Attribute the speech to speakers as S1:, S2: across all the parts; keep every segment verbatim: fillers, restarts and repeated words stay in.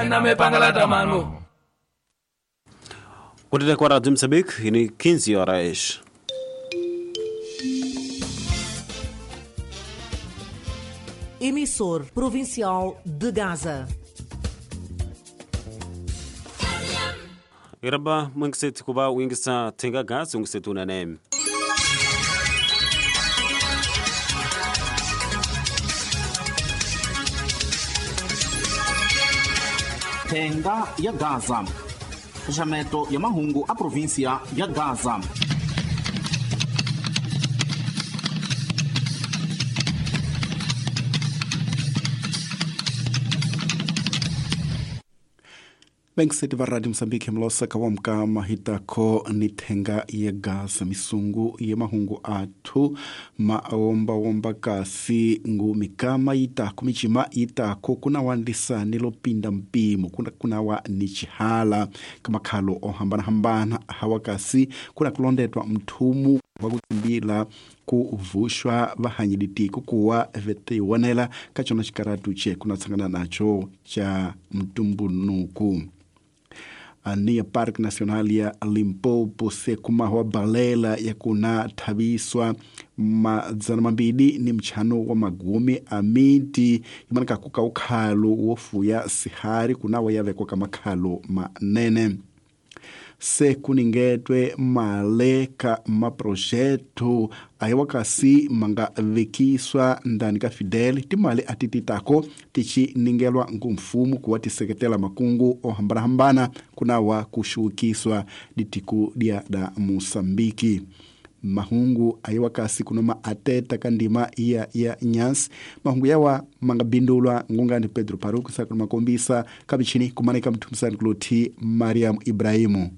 S1: Na me pangalata mano.
S2: Kutete kwa Radio Moçambique, ini quinze horas.
S3: Emissor Provincial de Gaza.
S2: Iraba mwingiseti kuba wingisa tenga gazi ungisetu unanemi.
S4: Tenga ya Gaza. Xaxameto ya mahungu a província ya Gaza.
S5: Bengiseti va Radio Moçambique mlosaka wa mkama hitako ni thenga ya Gaza misungu ya mahungu athu maombawomba kasi ngu mikama yitako michima yitako kuna wandisani lopinda mpimo kuna kunawa ni chihala kamakhalo ohambanahambana hawa kasi kuna kulondetwa mthumu wa kukimbila kuvuxwa vahanyilitiko kuwa vetiwonela ka cona xikaratu che kuna tshangana nacho cha mtumbunuku. Ania Park Nacional ya Limpopo se kumahwa balela ya kuna thaviswa madzana mambili ni mchano wa magumi a miti imanaka kuka ukhalo wofuya sihari kunawa yavekwa ka makhalo manene. Se kuningetwe male ka maprojeto ayiwa kasi manga vekiswa ndani ka Fidel timali atititako tichi ningelwa ngumfumu kuwa tiseketela makungu ohambanahambana kunawa kushukiswa ditiku dia da Moçambique. Mahungu ayiwa kasi kunoma ateta kandima iya ya nyasi mahungu yawa mangabindulwa ngungani Pedro Paruku sa kumakombisa kabichini kumanika mtumsani kuloti Mariam Ibrahimu.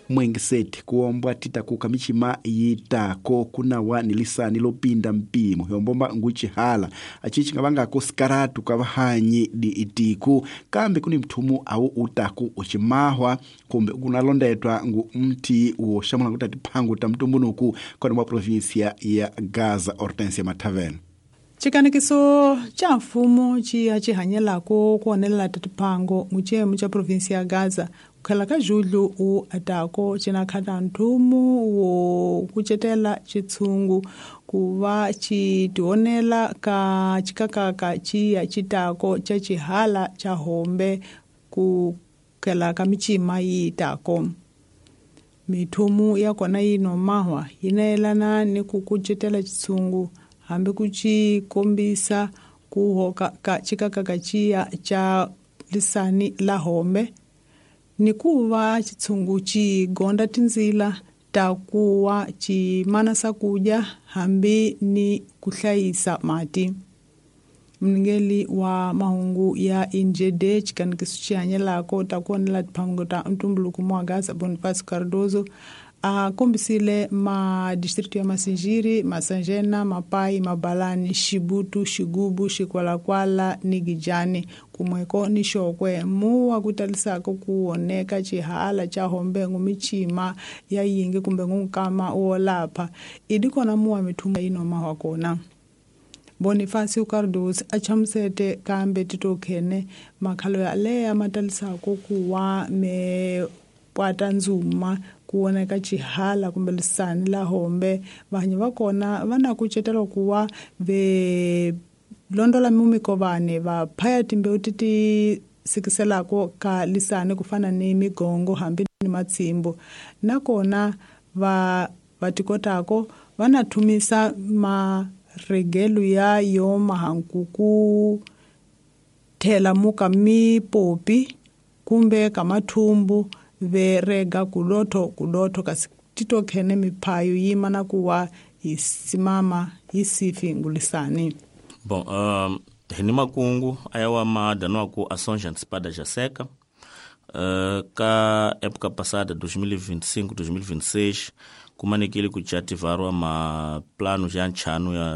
S5: Mwengiseti kuombwa titakuka michima yitako kunawa nilisani lopinda mpimo yombomba nguchihala achichi ngavangako sikaratu kavahanyi di itiku kambe kuni mthumu au utaku uchimahwa kumbe kunalondetwa ngu mti woshamula kuti atiphangu ta mtumbunuku koni mwa provinsia ya Gaza. Hortensia Mathavel.
S6: Chikanikiso cha mfumo chiya chihanyelako kuonelela tatiphango muchemu cha provinsia ya Gaza kukhela ka Julho u atako cinakhata nthumu wo kucetela chitshungu kuva chitionela ka chikakaka chiya chitako cha chihala cha hombe kukhela ka michima yitako. Mithumu ya kona yinomahwa yinayelana ni ku kucetela chitshungu hambi ku ci kombisa ku hoka ka chikakaka chiya cha lisani la hombe ni kuva chitshungu ci gonda tindzila ta kuwa ci mana swakudya hambi ni ku hlayisa mati. Mningeli wa mahungu ya Injede chikanikiso xihanyelako ta ku onela tiphango ta ntumbuluko mwa Gaza Bonifacio Cardoso a kombisile ma distrito ya Masinjiri, Masanjena, Mapai, Mabalani, Xibutu, Xigubu, Xikwalakwala ni Gijani kumweko ni Xokwe muwa kutalisako kuoneka chihala cha hombe michima ya yingi kumbe ngunkama wolapha idi kona muwa mithuma inoma wakona. Bonifacio Cardoso a chamusete kambe titokhene makhalo ya leya matalisako kuwa me pwata ndzuma kuoneka chihala kumbe lisani la hombe vanhu va kona va na kucetela kuwa ve londola mumikovane va phaya timbewu ti ti sikiselako ka lisani ku fana ni migongo hambi ni matsimbo nakona va va tikotako va na thumisa maregelo ya yo mahankuku thela muka mipopi kumbe ka mathumbu ve rega kulotho kulotho kasi titokhene miphayo yima na kuwa isimama isifi ngulisani.
S7: Bom, um, hini makungu ayawa madanwa ku ações antecipadas já seca. Uh, ka época passada dois mil e vinte e cinco, dois mil e vinte e seis kumanekile ku chativarwa ma plano já nchano ya